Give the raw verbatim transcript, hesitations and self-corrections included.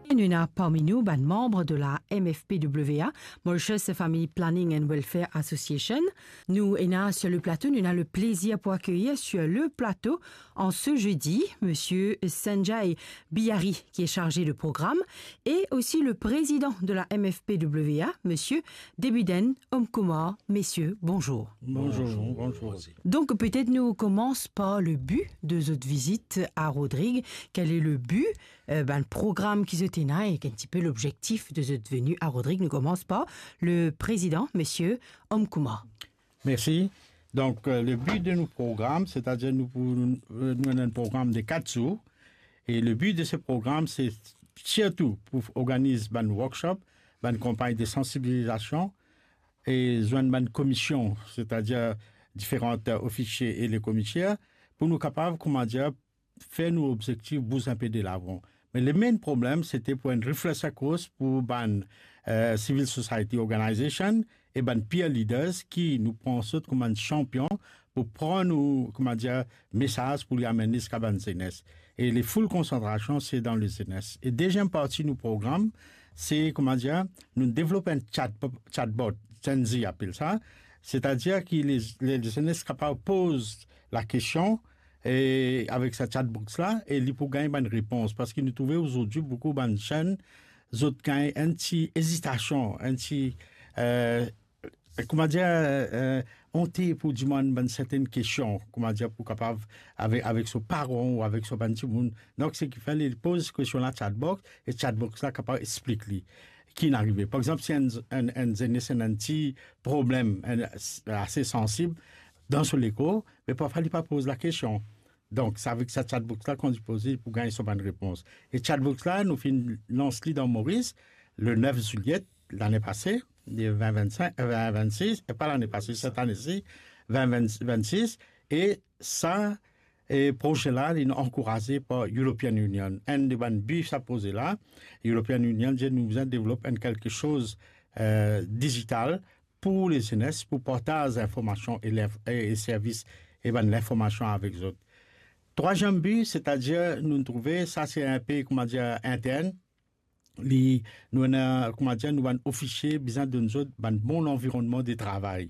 Nou ena parmi nou bann manm de la M F P W A, Mauritius Family Planning and Welfare Association. Nou ena sur le plateau, nou ena le plaisir pour accueillir sur le plateau en ce jeudi, monsieur Sanjay Bihari, qui est chargé de programme, et aussi le président de la M F P W A, monsieur Debuden Omkumar. Messieurs, bonjour. Bonjour, bonjour. Donc, peut-être nous commençons par le but de votre visite à Rodrigues. Quel est le but, euh, ben, le programme qui vous tenez et un petit peu l'objectif de votre venue à Rodrigues? Nous commençons par le président, monsieur Omkumar. Merci. Donc, euh, le but de nos programmes, c'est-à-dire nous, pour, euh, nous avons un programme de quatre jours. Et le but de ce programme, c'est surtout pour organiser un workshop, une campagne de sensibilisation et joindre une commission, c'est-à-dire différents, euh, officiers et les commissaires, pour nous capables, comment dire, fer nou obzektif bouz inpe de lavan. Me le main problem, sete pou enn refresher course pou bann, eh, civil society organization e bann peer leaders ki nou pran zot kouma enn chanpion pou pran nou, kouma dir, mesaz pou li amenn li ziska bann zenes. E le full konsantrasion, se dan le zenes. E deziem parti nou program, se, kouma dir, nou devlop enn chat, chatbot, Gen Z apel sa. Setadir ki le, le, le zenes kapav poz lakestion, e avek sa chatbox la, e li pou gagn bann repons. Parski nou trouve azordi boukou bann zenn, zot gagn enn ti ezitasion, enn ti, eh, kouma dir, eh, onte pou dimann bann sertenn kestion, kouma dir, pou kapav avek, avek so paran ou avek so bann dimoun. Donk, seki fer li poz kestion la chatbox, e chatbox la kapav explik li ki inn arive. Par exanp, si enn, enn, enn zenes ena enn ti problem, enn, ase sansib dan so lekor, me parfwa li pa poz lakestion. Donk, sa avek sa chatbox la, kan li poze, li pou gagn so bann repons. E chatbox la, nou finn lans li dan Moris le nef zilye lane pase, de vin vennsenk, eh, vin vennsis, e pa lane pase, set ane si, vin vin, vennsis, e sa, e proze la, li ankouraze par European Union. Enn de bann bi sa proze la, European Union dir nou bizin devlop enn kelke soz, eh, dizital pou le zenes, pou partaz linformasion e linf-, e, e servis e bann linformasion avek zot. Trwaziem bi, setadir nou trouve, sa se enpe, kouma dir, intern, li, nou ena, kouma dir, nou bann ofisie bizin donn zot bann bon lanvironnman de travay.